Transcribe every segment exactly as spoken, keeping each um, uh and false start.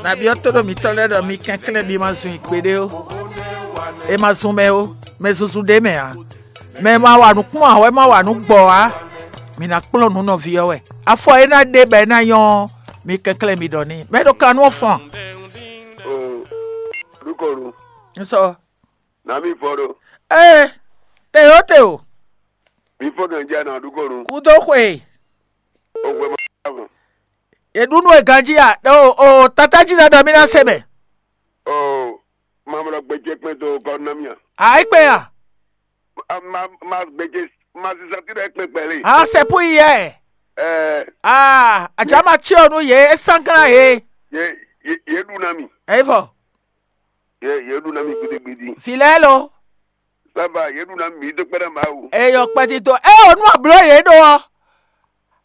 Nabí ɔ́ tó ɖo mǐtɔn lɛ́ɛ ɖɔ mi kɛnklɛ́n mi ma zun i gbeɖé ó. È ma zun mɛ ó, mɛ zunzun ɖ'é mɛ ǎ. Mɛ ma wa nǔ kpɔ́n ǎ wɛ ma wa nǔ gbɔ ǎ. Mǐ ná kplɔ́n nǔ nɔví ɔ́ wɛ. Afɔ e ná ɖe bɔ é ná nyɔ́ ɔ́, mi kɛnklɛ́n mi ɖɔ n'i. Mɛ ɖo kan nú ɔ́ fɔ́n. Oo, ɖukɔnu, un sɔ nǎ mì fɔ ɖo. Ee, te o te o, Mi fɔ gɛnjɛ nɔ ɖukɔnu. kúdó xwe. O hwɛ ma ɖa mɔ. È ɖu nú è ganjí a? O o tata jí ná ɖɔ mí ná se mɛ. Oo, ma mlɔ gbɛjɛ kpɛn dó kɔ ná mì a. A é kpé a? A, ma ma gbɛjɛ ma sisa ti ɖe kpɛn kpɛlɛ. A sɛ pú yi yɛ. Ɛɛ, A àjà máa tí ò nú yě é sán gán yě. ye ye ye ɖu na mi. Ɛ vɔ, Ye ye ɖu na mi gbidigbidi. Fìlẹ́ lo. Saba ye ɖu na mi dó kpɛɖe Mawu. Eyɔ kpɛtitɔ. Ɛ ò nú àbló yě ɖo ɔ.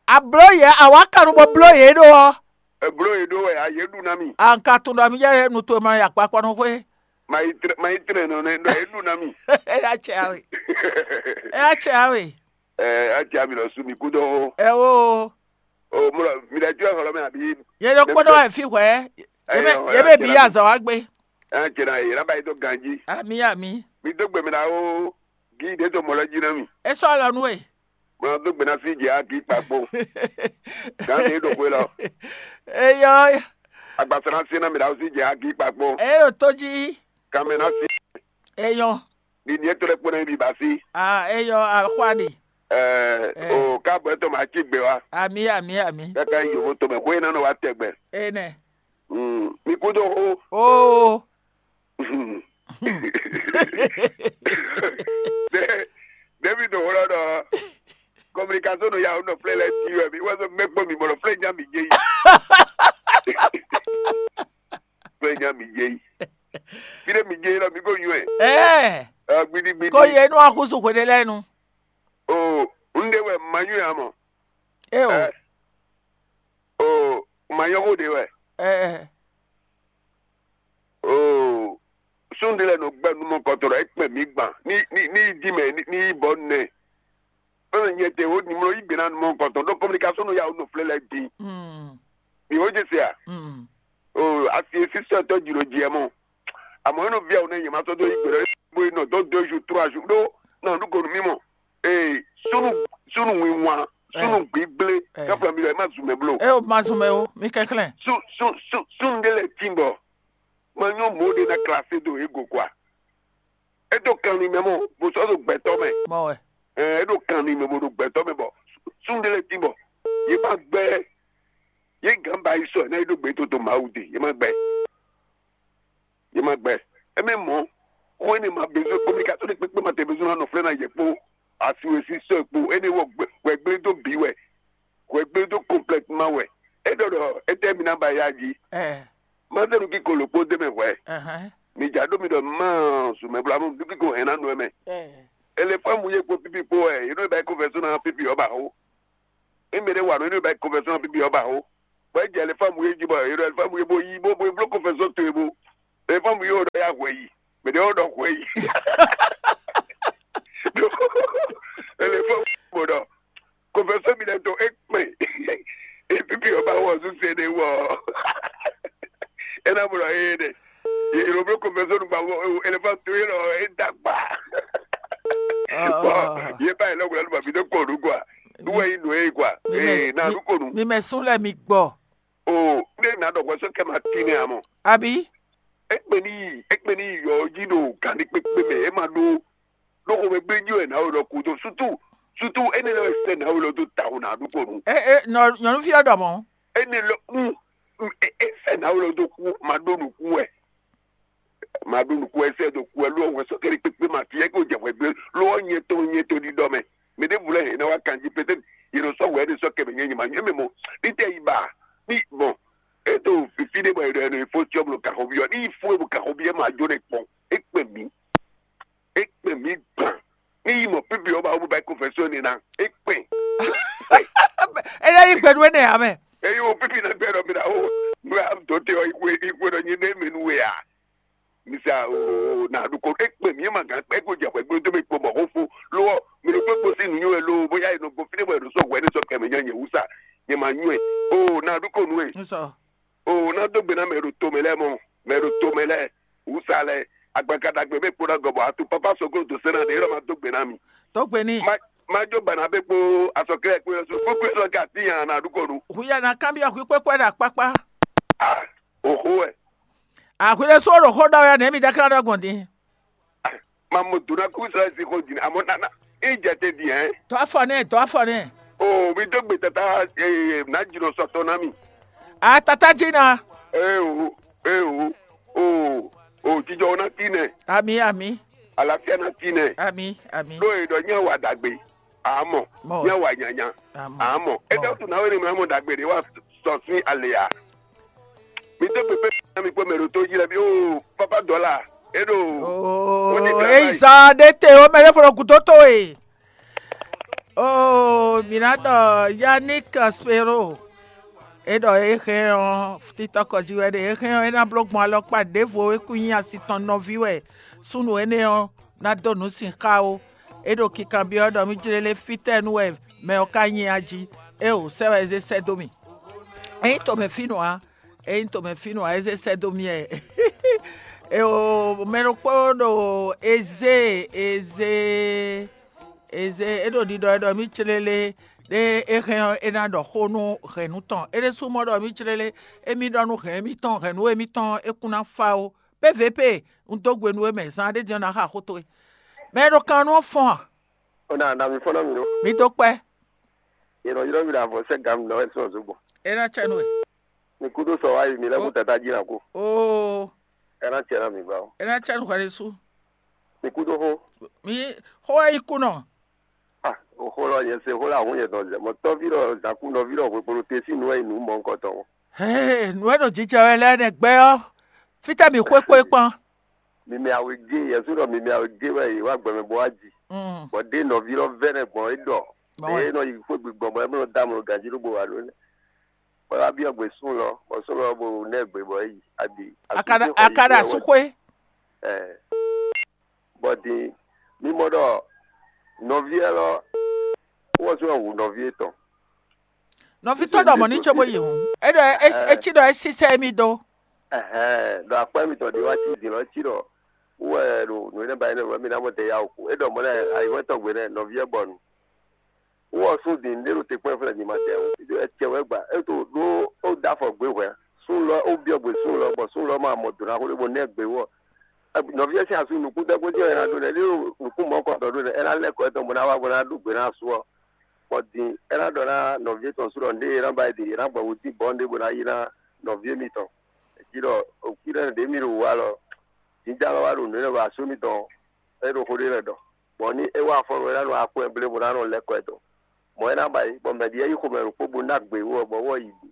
Àbló yě àwa kanu bɔ bló yě ɖo ɔ. Eblo ye ɖo wɛ a ye ɖu na mi. Anka tun ɖɔ mi yɛ nu to ma ya kpakpɔ nu xwe. Ma yi trɛ ma yi trɛ nɔ nɛ ɖɔ ye ɖu na mi. Ɛ ya tsɛ awe. Ɛ ya tsɛ awe. Ɛɛ, a ja mi lɔ su mi kú dó. Ɛ o. O mo lɔ mi ɖe jɔ xɔlɔ mɛ abi. Yɛ ɖo kpɔdɔ wɛ fi hwɛ. Yɛ bɛ yɛ bɛ bi azɔ wa gbe. Ɛ jɛ na ye la ba yi dó ganji. Ami ami. Mi dó gbɛ mi la o. Gi ɖe tó mɔ lɔ jí na mi. E sɔ lɔ nu e. Mo dó gbɛ na sí jɛ a gi kpakpo. Gan de ɖo xwe lɔ. Eyɔ. Agbasa na sí na mi la o sí jɛ a gi kpakpo. Eye ɖo tó jí. Kan mɛ na sí. Eyɔ. Ni ni e to lɛ kpó na yi bi ba sí. Ah, eyɔ axwani. Ɛɛ o káàbọ̀ ẹ̀ tó máa cí gbé wa. Ami ami ami. Kaka yi yòówó tó mɛ xó yẹn nánà wa tẹ̀gbẹ́. Enɛ. Mi kú tó xó. Oo. David wúlɔ ɖɔ communication nɔ ya wonɔ flɛ lɛ ti wɛ mi wɛ sɔ mɛ kpɔ mi bɔlɔ flɛ nya mi jɛ yi. Flɛ nya mi jɛ yi. Fi ɖe mi jɛ yi lɔ mi ko nyuɛ. Ɛɛ. Ɛ gbidi gbidi. Ko ye nu akusu hwene lɛ nu. O n de wɛ ma nyuɛ amɔ. E o. Ɛ o ma nyɔ ko de wɛ. Ɛɛ. Oo, sunɖe lɛ nɔ gbɛ numɔkɔtɔ ɖɔ ekpɛ mi gban ní ní ní yi dí mɛ ní ní yi bɔ nɛ. Fɛnɛ nyɛ te wo nimlɔ yi gbe na numɔkɔtɔ ɖo communication nɔ ya wo nɔ flɛ lɛ din. Mm. Mi wo jɛ se a? Mm. Oo, asi esi sɔ tɔ jiro jɛ mɔ. Àmọ́ inú bí àwọn ènìyàn máa tọ́ tó yí gbèrè bó iná tó deux jours trois jours ɖó náà ló gòrò mímọ́. Ee, sunu sunu wiwa sunu gbígblé Eh. Káfíńà mi lọ ẹ má zùn mẹ́ bló. E o ma zun mɛ o, mi kɛnklɛn. Sun sun sun sun ɖe lɛ tin bɔ ma nyɔ mɔ ɖe na klase do ego kwa. Edo kan ni mɛ mɔ bo sɔ do gbɛtɔ mɛ. Mɔ wɛ. Ɛɛ edo kan ni mɛ bo do gbɛtɔ mɛ bɔ sun ɖe lɛ tin bɔ ye ma gbɛ ye gan ba yi sɔ ɛ na ye do gbɛ to to Mawu de ye ma gbɛ. Ye ma gbɛ. Eme mɔ ko ene ma bezo communication de kpekpe ma te bezo na nɔ flɛ na ye kpo asiwe si sɔ kpo ene wɔ gbɛ gbɛ do bi wɛ. Hwɛgbe dó kɔnplɛtma wɛ. É ɖɔ ɖɔ étɛ́ mi ná ba ya jí? Ɛ Má zé nukí ko lǒkpó dó mɛ hwɛ̌. Ɛhɛn. Mi jǎ ɖó mi ɖɔ má zumɛblá mú nukí ko hɛn ná nɔ ɛ mɛ. Ɛ Elefámu yé kpo pípi kpó wɛ, yě nɔ ba kó fɛ́sún ná pípi ɔ́ ba xó. Émɛ ɖé wa nɔ, yě nɔ ba kó fɛ́sún ná pípi ɔ́ ba xó. Bɔ é jɛ elefámu yé jí bɔ yě ɖɔ elefámu yé bó yí bó bó bló kó fɛ́sún towe bó. Elefámu yé wɔ ɖɔ yá hwɛ yi. Mɛ ɖé wɔ ɖɔ hwɛ yi. Elefámu bó ɖɔ kó fɛ́sún mi lɛ tó é kpɛn. Epipi ɔ́ bá wɔ zúzɛ ɖé wɔ. É ná mlɔ éé ɖe. Yě ló bló kó fɛ́sún nu gba wɔ elefámu tó yé lɔ é dá gbá. Bɔn yé báyìí lọ́gbọ̀n lọ́dún bàbí tó kọ̀ ọ̀dún kọ́ à. Nú wẹ̀ yín nù é kọ́ à. Ee, náà ló kò nù. Mi mɛ sún lɛ mi gbɔ. O, ne na ɖɔ hwɛsó kɛ ma tín nɛ amɔ. Abi. Ekpe ni yi, ekpe ni yi yɔ jí ɖo gǎn ní kpékpé mɛ, é ma ɖó ɖó xomɛ gbé jí wɛ nǎwe lɔ kú dó sútú sútú énɛ́ lɔ sɛ nǎwe lɔ dó tawu nǎ ɖó kɔ nù. E e nɔ nyɔnuvi ɔ́ ɖɔ mɔ̌. Énɛ́ lɔ kú é é sɛ nǎwe lɔ dó kú ma ɖó nǔkú wɛ. Ma ɖó nǔkú wɛ sɛ dó kú wɛ ló wɛ sɔ kɛɖi kpékpé ma fi yɛ kó jɛ hwɛ gbé ló wɔ nyɛ tɔn nyɛ tɔn ɖiɖɔ mɛ. Mɛ ɖěbǔ lɛ́ɛ hɛn ná wá kanjí pétɛ́ yě nɔ sɔ́ hwɛ ɖé sɔ́ kɛ mɛ nyɛ nyɛ ma nyɔ mɛ mɔ ní tɛ yi ba ní bɔn é ɖo fífí ɖé bɔ è ɖɔ è nɔ yi fó cyɔ́ blo gǎnxɔví ɔ́ ní yi fó é blo gǎnxɔví ɔ́ ma jó nɛ kpɔn é kpɛn mǐ é kpɛn mǐ gbǎn ní yi mɔ pípi ɔ́ ba wó bó ba kó fɛ́ sɔ́ énɛ́ ná é kpɛn. Ele yi gbɛɖu énɛ́ ame. Eye wo pípi ná gbɛ ɖɔ mi ɖa ó nú a dó te ɔ ikú ikú ɖɔ nyi ɖé mi nú we a. Misa o na ɖu ko ekpe mi ma gã kpɛ ko jɛ xwɛ gbé tó mi kpo mɔ xó fo lo ɔ mi ɖo kpé kpo sí nǔ nyo ɛ lo bóyá e nɔ gbɔ fínɛ bɔ e ɖo sɔ hwɛ ní sɔ kɛmɛ nya nyɛ wúsa nyɛ ma nyu ɛ o na ɖu ko nú ɛ. N sɔ. O ná dó gbe ná mɛ ɖo tomɛ lɛ́ɛ mɔ, mɛ ɖo tomɛ lɛ́ɛ, wǔsa lɛ́ɛ, agbanka ɖagbe bɛ kpo ná gɔbɔ atu papa soklo do sɛn na ɖe yɔrɔ ma dó gbe ná mi. Dó gbe n'i. Má má jó bana bɛ kpo asɔkɛ kpo yɔsɔ kpo kpo yɔsɔ ka ti yan na ɖu kɔnu. Hu ya na kanbyɔ hu kpɛkpɛ ɖo akpakpa. Ah, oho wɛ. Ahwi ɖé sú ɖo xó ɖɔ wɛ nɛ mi dɛkla ɖɔ gbɔn din. Ma mo dona kú sɛ si xo din amɔ nana. I jɛ te din ɛ. Dɔ afɔ nɛ, dɔ afɔ nɛ. O mi dó gbe tata ee na jìnnà sɔtɔ na mi. A tata dzi na. Ee o, ee o, o o jijɔ na ti nɛ. Ami ami. Alafia na ti nɛ. Ami ami. Ɖó e ɖɔ nyɛ wa dagbe. Amɔ. Mɔ. Nyɛ wa nyanya. Amɔ. Amɔ. Ede tu na wɛ ni mɛ mɔ dagbe de wa sɔ sin ale ya. Mi dó gbe pé mi kpó mɛ ɖo tó jí lɛ mi ó pápá dɔ́là. É ɖo. Oo, eyi zan ɖé te o mɛ ɖé fɔ ɖo gǔdo towe. Oo, mǐ ná ɖɔ Yannick Spero. É ɖɔ é hɛn ɔ́, títɔ́kɔ jí wɛ ɖe é hɛn ɔ́, é ná bló gbɔn alɔkpa ɖěvo é kún nyí asi tɔn nɔví wɛ súnnu énɛ́ ɔ́ ná dó nǔ sin xá ó. É ɖo kinkanbyɔ́ ɖɔ mí jlé lé fítɛ́ nú wɛ mɛ ɔ́ ka nyí a jí. Éeǒ, sɛ́ wɛ é zé sɛ́ dó mì. É nyí tomɛ fínɔ ǎ. É nyí tomɛ fínɔ ǎ, é zé sɛ́ dó mì wɛ. Éeǒ, mɛ ɖokpó ɖo eze eze eze é ɖo ɖiɖɔ wɛ ɖɔ mí clélé ɖé é hɛn ɔ́, é ná ɖɔ xó nú hɛ̌nnu tɔn. É ɖésú mɔ ɖɔ mí clélé, émí ɖɔ nú hɛ̌n émítɔn, hɛ̌nnu émítɔn é kún ná fá ó. Pé vě pé, un dó gbe nú we mɛ, zan ɖé din ɔ́ ná xa xó towe. Mɛ e ɖo kan nú ɔ́ fɔ́n a? Ó ná ná mi fɔ́n ná mi ɖó. Mi dó kpɛ́. È nɔ ylɔ́ mi ɖo avɔ sɛ́ gǎn mi nɔ wɛ sɔ́ zǒgbɔn. É ná cɛ nú we. Mi kúdó sɔ wá yi mi lɛ́ kú tata jí ná kú. Oo. É ná cɛ ná mi gbá ó. É ná cɛ nú hwɛ ɖésú. Mi kúdó xó. Mi xó wɛ yi kú nɔ. Ah, xó lɔ nyɛ se xó lɔ ahún nyɛ dɔn zɛ. Mɔ tɔ́ví lɔ zǎkú nɔví lɔ hwekpolo te sín nǔ wɛ yi nǔ mɔ ŋkɔ tɔn. Hee, nǔ e ɖo jijɛ wɛ lɛ́ɛ nɛ́ gbɛ ɔ́, fítɛ́ mi xwé kpó é kpɔ́n? Mi mɛ awegé, yɛsu ɖɔ mi mɛ awegé wɛ yě wá gbɛmɛ bó wá ji. Mm. Bɔ ɖé nɔví lɔ vɛ́ nɛ gbɔn é ɖɔ. Bɔn é nɔ yi xwé gbigbɔn bɔ é mɛ nɔ dá amlɔ ganjí ɖó bo wá ɖó nɛ. Bɔ é wá byɔ́ gbe sún lɔ, bɔ sún lɔ bo nɛ gbe bɔ é yi adi. Akaɖa akaɖa asúxwé. Ɛ. Bɔ din mí mɔ ɖɔ nɔví élɔ́ wɔ sún hu nɔví étɔn. Nɔví tɔn ɖɔ mɔ̌ ní cóbó yi hǔn. É ɖɔ é cí ɖɔ é sísɛ émí dó. Ɛhɛn, ɖɔ akpá mitɔn ɖé wá cí din lɔ cí ɖɔ wú wɛ ɖo nǔ énɛ́ ba énɛ́ wɛ mí ná mɔ tɛ ya wǒ kú. É ɖɔ mɔ̌ lɛ́ɛ ayǐhɔ́n tɔn gbe nɛ́ nɔví ɔ́ gbɔ nu. Wú ɔ sún din ɖé ɖo te kpɔ́n fúnɛ din ma tɛ wú. Acɛ wɛ gba é to ɖó ó dó afɔ gbě hwɛ̌. Sún lɔ ó byɔ́ gbe sún lɔ bɔ sún lɔ ma mɔ dǒ ná xó ɖé bó nɛ́ gbe wú ɔ. Nɔví ɔ́ sín asú nukúndɛ́gbó jɛ́n wɛ é ná ɖó nɛ́ ɖé ɖo nukún mɔ̌kɔtɔn ɖó nɛ́ é ná lɛ́ kɔ étɔn bó ná wá bó ná ɖó gbe ná asú ɔ́. Bɔ din é ná ɖɔ ná nɔví étɔn sú ɖɔ ndéé é ná ba yi ɖe é ná gbɔ wǔ dín bɔ̌ ɖé bó ná yi ná nɔví émítɔn. Jí ɖɔ òkú ɖé ɖě mì ɖo wǔ alɔ. Jǐnján lɔ wá ɖo nǔ énɛ́ wɛ asú émítɔn é ɖo xó ɖé lɛ́ɛ ɖɔ. Bɔ ní é wá afɔ́nú é ná nɔ akwɛ́ blébo ná nɔ lɛ́ kɔ ɛ dɔn. Mɔ̌ é ná ba yi, bɔ mɛ ɖi é yi xomɛ ɖokpó bó ná gbe wú ɔ, bɔ wú ɔ yi ɖu.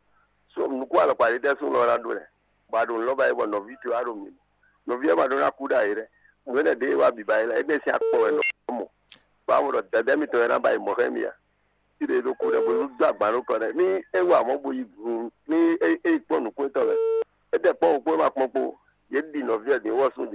So nukún alɔkpa ɖé tɛ́ súnnu ɔ́ ná ɖó lɛ́ɛ, bɔ a ɖo nǔ lɔ ba yi bɔ nɔví towe wá ɖo mǐ mɔ. Nɔví ɔ́ ma ɖó ná kú ɖo ayǐ lɛ́ɛ. Nǔ énɛ́ ɖě e wá bǐ ba yi lɛ́ɛ, énɛ́ sín akpɔ wɛ nɔ mɔ. Bɔ a mɔ ɖɔ dɛ̌dɛ́ mitɔn wɛ ná ba yi mɔ̌ xá émí a? Fí ɖé ɖokú ɖɛ bó dó agban nú kɔ ɖɛ. Ní é wa mɔ̌ bó yi gu, ní é é yi kpɔ́n nǔkún étɔn lɛ́ɛ. É ɖɛ kpɔ́n wǔ kpó é ma kpɔ́n kpó. Yě ɖi nɔví ɔ́ din wɔ sún din.